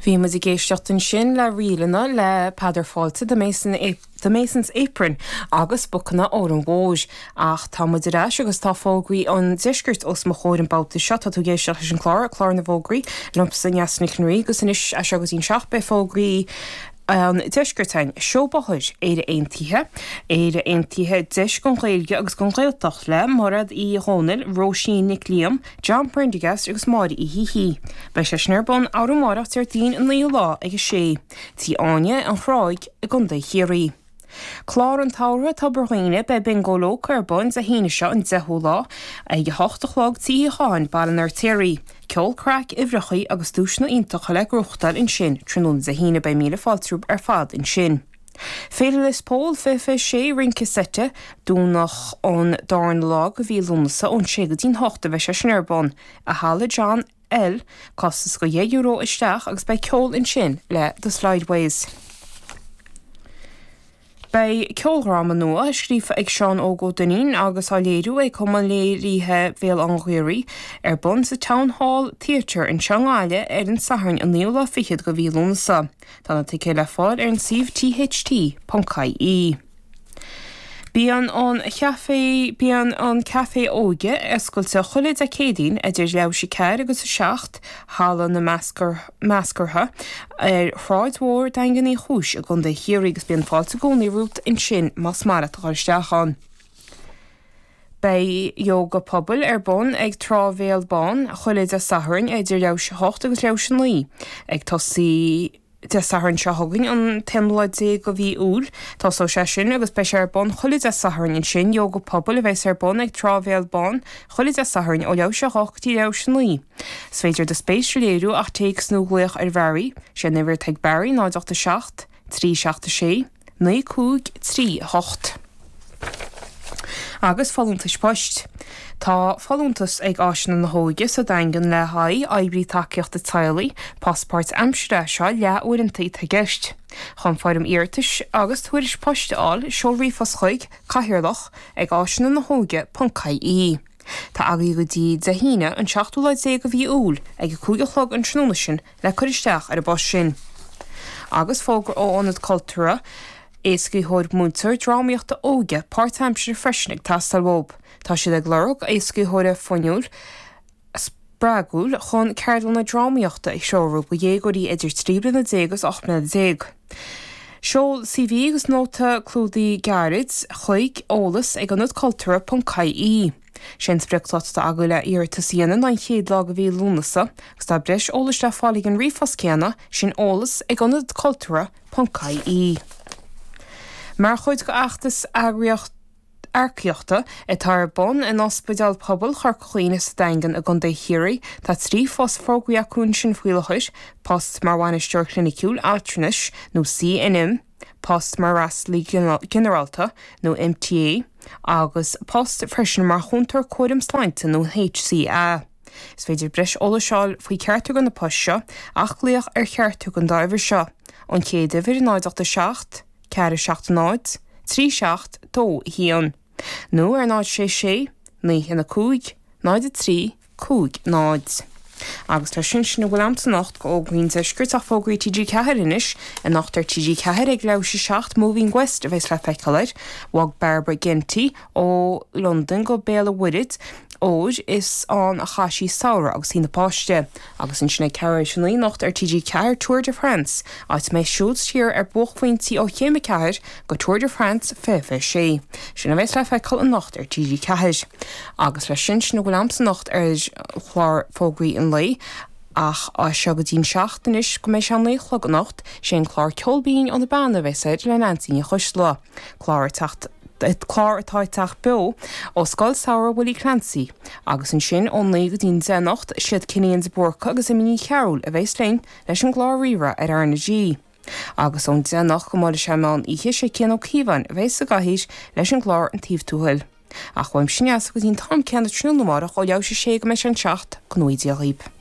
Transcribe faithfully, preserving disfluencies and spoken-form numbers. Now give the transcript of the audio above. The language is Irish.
Bhí muid ag éisteacht ansin le ríleanna le Peadar Fáilte The Mason The Mason's Apron agus Bocanna Óran Mhóir ach tá muid ar ais agus tá fógraí an deiscirt os mo chomhair an babhta seo tá tú ag éisteacht leis an chlár clár na bhfógraí liomsa Neasa Nic an Rí agus anois as seo go dtí an seacht beidh fógraí an deiscirt againn seó bóthair Éire Aontaithe, Éire Aontaithe deis don Ghaeilge agus don Ghaeltacht le Mairéad Uí Dhomhnaill, Róisín Nic Liam, John Prendergast agus Máire Uí hÍthí. Beidh sé sin ar bun arú amárach Déardaoin an naoú lá ag a sé. Tí Áine an Chráig i gContae Chiarraí. Clár an tsamhraidh Tobar Dhuibhne beidh Bingo Loco ar bun Dé hAoine seo an deichiú lá ag a hocht a chlog Tí Cháin Baile an Fheirtéaraigh. Ceol craic uimhreacha agus duaiseanna iontacha le gnóthachtáil ansin tráthnóna Dé hAoine beidh míle fáilte ar fad ansin. Féile Lios Póil fiche fiche sé rince seite Domhnach an darna lá de mhí Lúnasa ón sé go dtí'n hocht a bheidh sé sin ar bun i Halla John L costas go dheich euro isteach agus beidh ceol ansin le The Slideways. Beidh ceoldráma nua scríofa ag Seán Óg Ó Duinnín agus á léiriú ag Cumann Léirithe Bhéal Átha an Ghaorthaidh ar bun sa Town Hall Theatre anseo i nGaillimh ar an Satharn an naoú lá fichead de mhí Lúnasa. Tá na ticéid le fáil ar an suíomh tht.ie. Bíonn an chaifé bíonn an caife óige oscailte chuile Dé Céadaoin idir leathuair tar éis a ceathair agus a seacht halla na meascartha ar Shráid Mhór Daingean Uí Chúis i gContae Chiarraí agus bíonn fáilte i gcónaí romhat ansin más maith leat a dhul isteach ann. Beidh yoga pobail ar bun ag Trá Bhéal Bán chuile Dé Sathairn idir leathuair tar éis a hocht agus leathuair tar éis a naoi ag tosaí Dé Sathairn seo chugainn an t-aonú lá déag de mhí Iúil Tosóidh sé sin agus beidh sé ar bun chuile Dé Sathairn ansin yoga pobail a bheas ar bun ag Trá Bhéal Bán chuile Dé Sathairn ó leathuair tar éis a hocht go dtí leathuair tar éis a naoi. Is féidir do spéis a léiriú ach téacs nó glaoch ar Bharry, sé an uimhir atá ag Barry náid ocht a seacht, trí seacht a sé, naoi cúig trí hocht. Agus folúntais poist. Tá folúntas ag Áiseanna na hÓige sa Daingean le haghaidh oibrí tacaíochta teaghlaigh, post páirtaimseartha seo leath-uaireanta atá i gceist. Chun foirm iarratais agus tuairisc poist a fháil seol ríomhphost chuig cathaoirleach ag áiseanna na hóige ponc ie. Tá agaibh go dtí Dé hAoine an seachtú lá déag de mhí Iúil ag a cúig a chlog an tráthnóna sin le cur isteach ar an bpost sin. Agus fógra ó Ionad Cultúrtha éascaitheoir múinteoir drámaíochta óige páirtaimseartha freisin ag teastáil uathu. Tá siad ag lorg éascaitheora fuinniúil spreagúil chun ceardlanna drámaíochta a threorú do dhéagóirí idir trí bliana déag agus ocht mbliana déag. Seol CV agus nóta clúdaigh gairid chuig eolas ag ionadcultúrtha.ie. Sé an spriocdháta atá agaibh le iarratas a dhéanamh ná an chéad lá de mhí Lúnasa, agus tá breis eolais le fáil ag an ríomhphost céanna sin eolas ag ionadcultúrtha.ie. Mar chuid d'fheachtas eagraíocht earcaíochta atá ar bun in Ospidéal Pobail Chorca Dhuibhne sa Daingean i gContae Chiarraí, tá trí phost fógraithe acu ansin faoi láthair, post mar bhainisteoir cliniciúil altranais nó CNM, post mar fhreastalaí ginearálta nó MTA, agus post freisin mar chúntóir cúraim sláinte nó HCA. Is féidir breis eolais a fháil faoi cheachtar de na poist seo ach glaoch ar cheachtar den dá uimhir seo, an chéad uimhir náid ocht a seacht, ceathair seacht náid, trí seacht dó haon. Nó ar náid sé sé, naoi haon a cúig, náid a trí, cúig náid. Agus tá sin sin a bhfuil a'm anocht go fhógraí an deiscirt ach fógraí TG Ceathair anois, anocht ar TG Ceathair ag leathuair tar éis a seacht Moving West a bheas le feiceáil air, Bhog Barbara Ginty ó Londain go Béal an Mhuirthead óir is ann a chaith sí samhradh agus í ina páiste, agus ansin ag ceathrú tar éis a naoi anocht ar TG Ceathair Tour de France, áit a mbeidh siúl siar ar buaicphointí ó chéim a ceathair go Tour de France fiche fiche sé. Sin a bheas le feiceáil anocht ar TG Ceathair. Agus leis sin sin a bhfuil a'm anocht ar chlár fógraí an lae, ach as seo go dtí'n seacht anois go mbeidh sé a naoi a chlog anocht, sé an clár Ceol Binn ó na Beanna a bheas air le Neansaí Ní Choisdealbha. Clár ag teacht clár atá ag teacht beo ó Scoil Samhraidh Willie Clancy, agus ansin ó naoi go dtí'n deich anocht siad Cillian de Búrca agus Amy Ní Chearúil a bheas linn leis an gclár Rí-Rá ar R na G. Agus ón deich anocht go mbuailfidh sé meán oíche sé Cian Ó Cíobháin a bheas sa gcathaoir leis an gclár An Taobh Tuathail. Ach uaimse Neasa go dtí'n t-am céanna tráthnóna amárach ó leathuair tar éis a sé go mbeidh sé an seacht go ngnóthaí Dia dhaoibh.